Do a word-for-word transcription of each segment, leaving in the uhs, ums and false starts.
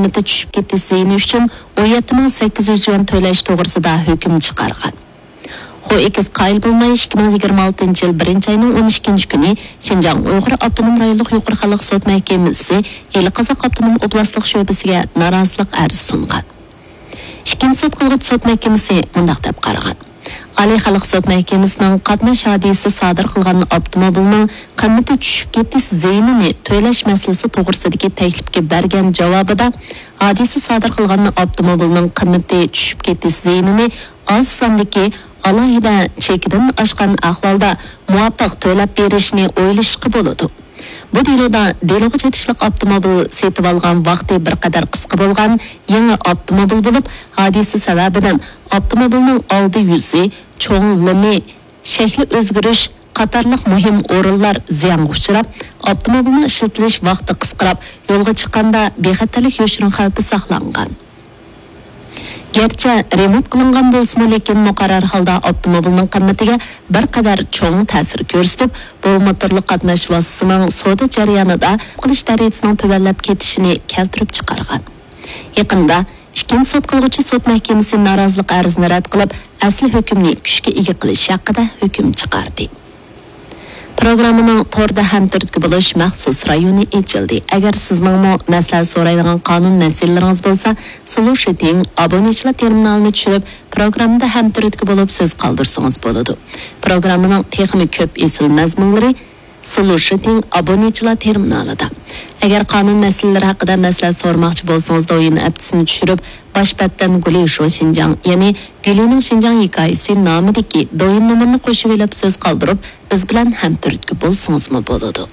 قىممىتى چۈشۈپ كېتىش زىيىنى ئۈچۈن ئون يەتتە مىڭ سەككىز يۈز يۈەن تۆلەش توغرىسىدا ھۆكۈم چىقارغان. خو ئېكس قايىل بولماي، ئىككى مىڭ يىگىرمە ئالتىنچى يىل بىرىنچى ئاينىڭ ئون ئىككىنچى كۈنى شىنجاڭ ئۇيغۇر ئاپتونوم رايونلۇق يۇقىرى خەلق سوت مەھكىمىسى ئىلى قازاق ئاپتونوم ئوبلاستلىق شۆبىسىگە نارازىلىق ئەرزى سۇنغان. ئىككىنچى سوت قىلغۇچى سوت مەھكىمىسى مۇنداق دەپ قارىغان: ئالىي خەلق سوت مەھكىمىسىنىڭ قاتناش ھادىسىسى سادىر قىلغان ئاپتوموبىلنىڭ قىممىتى چۈشۈپ كېتىش زىيىنىنى تۆلەش مەسىلىسى توغرىسىدىكى تەكلىپكە بەرگەن جاۋابىدا، ھادىسە سادىر قىلغان ئاپتوموبىلنىڭ قىممىتى چۈشۈپ كېتىش زىيىنىنى ئاز ساندىكى ئالاھىدە چېكىدىن ئاشقان ئەھۋالدا مۇۋاپىق تۆلەپ بېرىشنى ئويلىشىشقا بولىدۇ. بۇ دېلودا دېلوغا چېتىشلىق ئاپتوموبىل سېتىۋالغان ۋاقتى بىر قەدەر قىسقا بولغان يېڭى ئاپتوموبىل بولۇپ، ھادىسە سەۋەبىدىن ئاپتوموبىلنىڭ ئالدى يۈزى، چوڭ لىمى، شەكلى ئۆزگىرىش قاتارلىق مۇھىم ئورۇنلار زىيانغا ئۇچراپ، ئاپتوموبىلنىڭ ئىشلىتىلىش ۋاقتى قىسقىراپ، يولغا چىققاندا بىخەتەرلىك يوشۇرۇن خەۋپى ساقلانغان. گەرچە رېمونت قىلىنغان بولسىمۇ، لېكىن مۇقەررەر ھالدا ئاپتوموبىلنىڭ قىممىتىگە بىر قەدەر چوڭ تەسىر كۆرسىتىپ، بۇ موتورلۇق قاتناش ۋاسىتىسىنىڭ سودا جەريانىدا قىلىش دەرىجىسىنىڭ تۆۋەنلەپ كېتىشىنى كەلتۈرۈپ چىقارغان. يېقىندا ئىككىنچى سوت قىلغۇچى سوت مەھكىمىسى نارازىلىق ئەرزىنى رەت قىلىپ، ئەسلى ھۆكۈمنى كۈچكە ئىگە قىلىش ھەققىدە ھۆكۈم چىقاردى. پروگراممىنىڭ توردا ھەمتۈرتكە بولۇش مەخسۇس رايونى ئېچىلدى. ئەگەر سىزنىڭمۇ مەسلىھەت سورايدىغان قانۇن مەسىلىلىرىڭىز بولسا، سولۇشىتىڭ ئابۇنىچىلار تېرمىنالىنى چۈشۈرۈپ، پروگراممىدا ھەمتۈرتكە بولۇپ سۆز قالدۇرسىڭىز بولىدۇ. پروگراممىنىڭ تېخىمۇ كۆپ ئېسىل مەزمۇنلىرى سولۇشىتىڭ ئابۇنىچىلار تېرمىنالىدا. ئەگەر قانۇن مەسىلىلىرى ھەققىدە مەسلىھەت سورىماقچى بولسىڭىز، دويىن ئەپتىسىنى چۈشۈرۈپ، باش بەتتىن گۇلى شۇ شىنجاڭ، يەنى گۈلىنىڭ شىنجاڭ ھېكايىسى نامىدىكى دويىن نومۇرىنى قوشۇۋېلىپ سۆز قالدۇرۇپ، بىز بىلەن ھەمتۈرتكە بولسىڭىزمۇ بولىدۇ.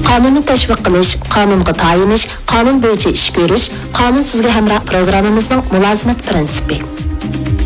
قانۇننى تەشۋىق قىلىش، قانۇنغا تايىنىش، قانۇن بويىچە ئىش كۆرۈش، قانۇن سىزگە ھەمراھ پروگراممىمىزنىڭ مۇلازىمەت پىرىنسىپى.